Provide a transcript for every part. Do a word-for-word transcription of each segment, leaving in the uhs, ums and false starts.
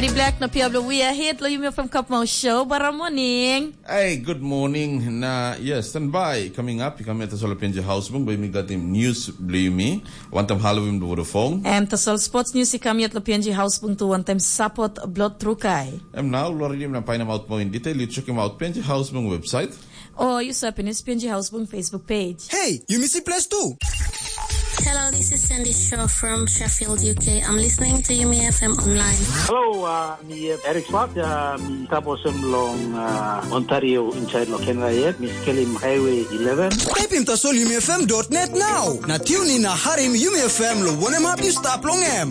Eri Black na pia bilong We Are Hit lo Yumi F M Kapmau Show. Bara morning. Hey, good morning. Na yes, standby. Coming up, you come at Solar P N G House Bung, by me got him news blue me. One time Halloween before the phone. Em tasol sports news i kam yet lo P N G House Bung tu one time support blood trukai. Em now, Lord Lim na painam out more in detail. You check him out, P N G House Bung website. Or you happiness P N G House Bung Facebook page. Hey, you miss it place too. Hello, this is Sandy Shaw from Sheffield, U K. I'm listening to Yumi F M online. Hello, uh, mi uh, Eric Swart, uh, mi taposem long uh, Ontario inside lo Canada yet. Mi skelim Highway eleven. Type in tasol Yumi F M dot net now. Na tune in na harim Yumi F M lo wanem hap you stap long em.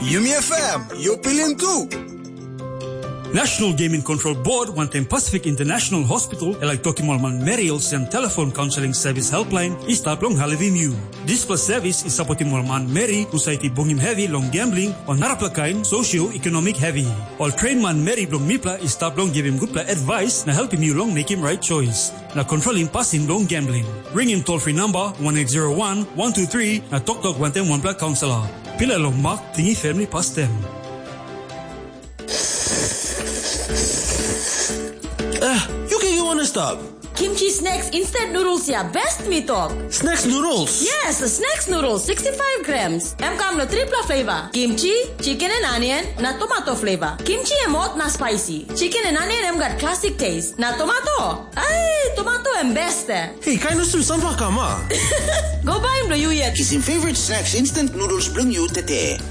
Yumi F M, you pilim tu. National Gaming Control Board wantaim Pacific International Hospital e laik tokim ol manmeri olsem telefon kaunseling sevis helpline i stap long helpim yu. Dispela sevis i sapotim ol manmeri husat i bungim hevi long gambling o narapela kain sosioekonomik hevi. Ol train manmeri bilong mipela i stap long givim gutpela advice na helpim yu long mekim right choice na kontrolim pasin bilong gambling. Ringim toll free number one eight zero one one two three na toktok wantaim wanpela kaunselor. Pila long mak tingi family pastem. Eh, you can you wanna stop? Kimchi snacks instant noodles ya best mi tok. Snacks noodles? Yes, snacks noodles sixty-five grams. Em kam lo tripla flavor. Kimchi, chicken and onion, na tomato flavor. Kimchi em hot na spicy. Chicken and onion em gat classic taste. Na tomato? Ai, tomato em best eh. Hey, kain usum sampla kama. Go buy em lo you yet. Kisim favorite snacks instant noodles bilong you tete.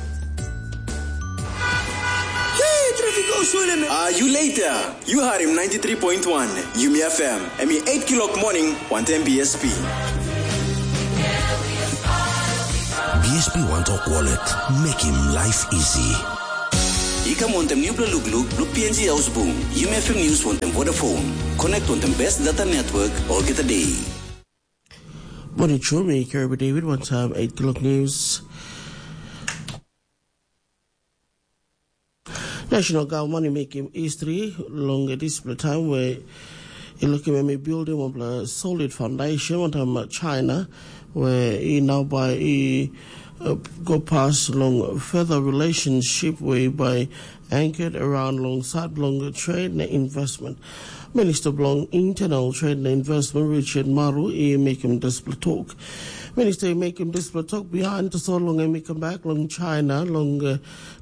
Hey, traffic go swole me. Ah, you later. You heard him ninety-three point one Yumi F M. Emi eight kilok morning, one ten B S P. B S P One Talk Wallet. Make him life easy. I kam wantaim nupela lukluk bilong P N G Ausbung, Yumi F M News wantaim Vodafone. Connect wantaim best data network olgeta day. Morning, Chumi, Kirby David, one time, eight o'clock news. National government i mekim history long dispela taim we i lukim em i bildim wanpela solid foundation wantaim China, we i nau bai i uh, go pas long further relationship we bai anchored around long side long trade na investment. Minister bilong Internal Trade na Investment Richard Maru i mekim dispela tok. Minister i mekim dispela tok bihain tasol long em i kam bek long China long uh,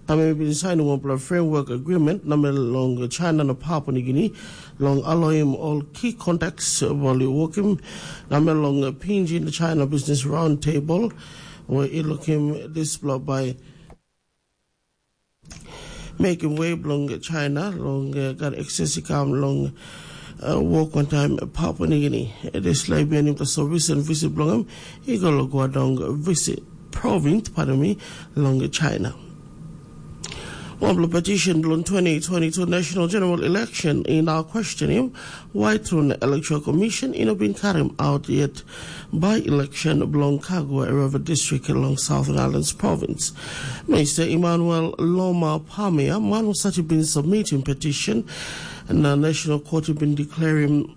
na em i bin sainim wanpela framework agreement na long China na Papua New Guinea long aloim ol key contacts ol i wokim na long Pinji na China Business Roundtable, where i lukim dispela bai mekim we bilong China long uh, gat access i kam long uh, wok wantaim Papua New Guinea. Dispela i bihainim tasol recent visit bilong em i go long Guangdong visit province, pardon me, long China. Wanpela petition bilong twenty twenty-two national general election i nau questionim why tru na Electoral Commission i no bin karim out yet by election bilong Kagua Rava District along Southern Islands Province. Minister Emmanuel Loma Pamia, man was such been submitting petition, na National Court been declaring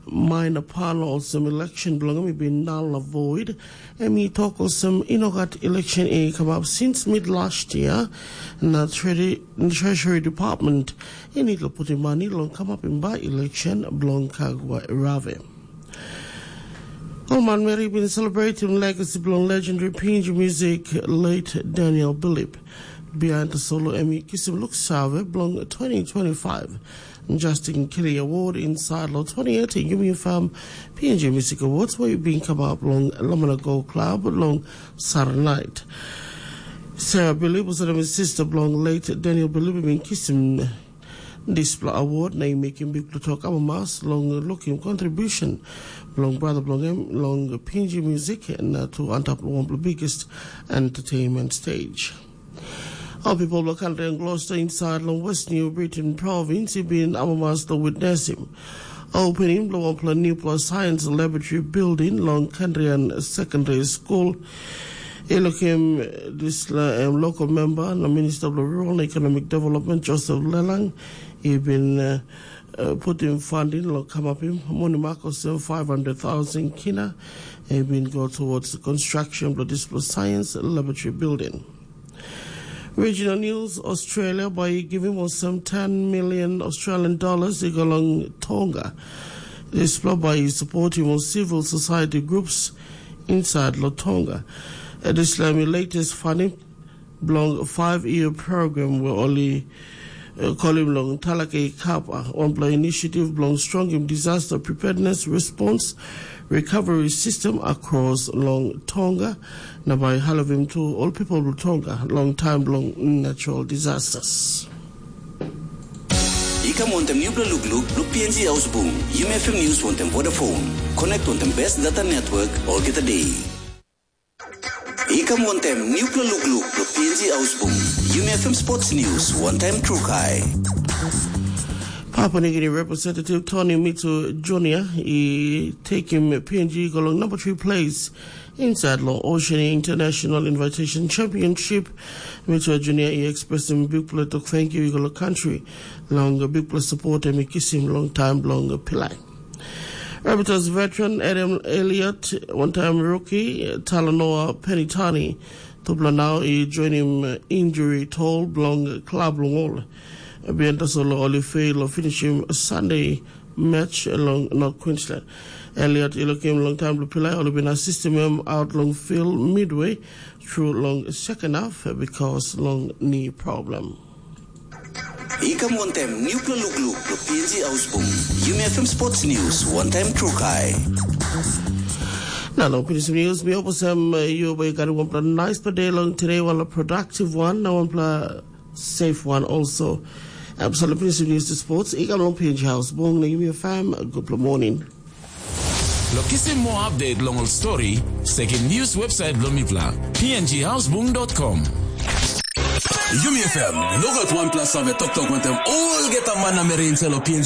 minor panel olsem election bilong em i bin null na void. Em i tok olsem i no gat election i kamap since mid last year, na Treasury Department i need to put money long kamapim by election bilong Kagua Rave. Ol manmeri bin celebrating legacy bilong legendary Pinji music late Daniel Bilip. Behind the solo em i kisim luk save bilong twenty twenty-five Justin Kiri Award inside lo twenty eighteen Yumi Farm P N G Music Awards where you been come up long Lamana Go Club long Saturday night. Sarah Bilip was the sister bilong late Daniel Bilip bin kisim dispela award na i mekim bikpela tok amamas long lukim contribution bilong brother bilong em long P N G music na tu antap long wanpela biggest entertainment stage. Ol pipel bilong kantri Gloucester inside long West New Britain province i bin amamas long witnessim opening bilong wanpela newpela science laboratory building long Kandrian Secondary School. I lukim dispela em local member na Minister bilong Rural na Economic Development Joseph Lelang i bin uh, uh, putim funding long kamapim moni mak olsem five hundred thousand kina. I bin go towards the construction bilong dispela science laboratory building. Regional News. Australia by giving us some ten million Australian dollars i go long Tonga. Dispela bai i supportim ol civil society groups inside lo Tonga. Dispela mi latest funding bilong five-year program where only uh, kolim long Talake Kapa, wanpela initiative bilong strongim disaster preparedness response recovery system across long Tonga, na bai halivim tu ol people bilong Tonga long time bilong natural disasters. I kam wantem nupela lukluk bilong P N G Ausbung, Yumi F M News wantem Vodafone. Connect wantem best data network olgeta day. I kam wantem nupela lukluk bilong P N G Ausbung, Yumi F M Sports News, one time trukai. Papua New Guinea Representative Tony Mitsu Junior i taking P N G go long number three place inside long Oceania International Invitation Championship. Mitsu Junior i expressing big play to thank you go long country long big play support and kisim long time long pilai. Rabbitohs veteran Adam Elliott, one-time rookie Talanoa Penitani, tupela nau i joinim injury toll bilong klab long ol. Bihain tasol ol i fail long finishim Sunday match long North Queensland. Elliot i lukim long taim bilong pilai ol i bin asistim em aut long field midway through long second half because long knee problem. I kam wantem nupela lukluk lo P N G Ausbung. Yumi F M Sports News, one time trukai. Na long pinis news, mi opusem uh, you by gari one plan nice per day long today, one productive one, na one plan safe one also. Absolutely pinis news to sports. I kam long P N G Ausbung, na Yumi F M, good morning. Lo kisim moa update long ol story, sekim news website bilong mipela, P N G Ausbung dot com. Yumi F M, nogat wanpela save toktok wantem olgeta man na meri inside lo P N G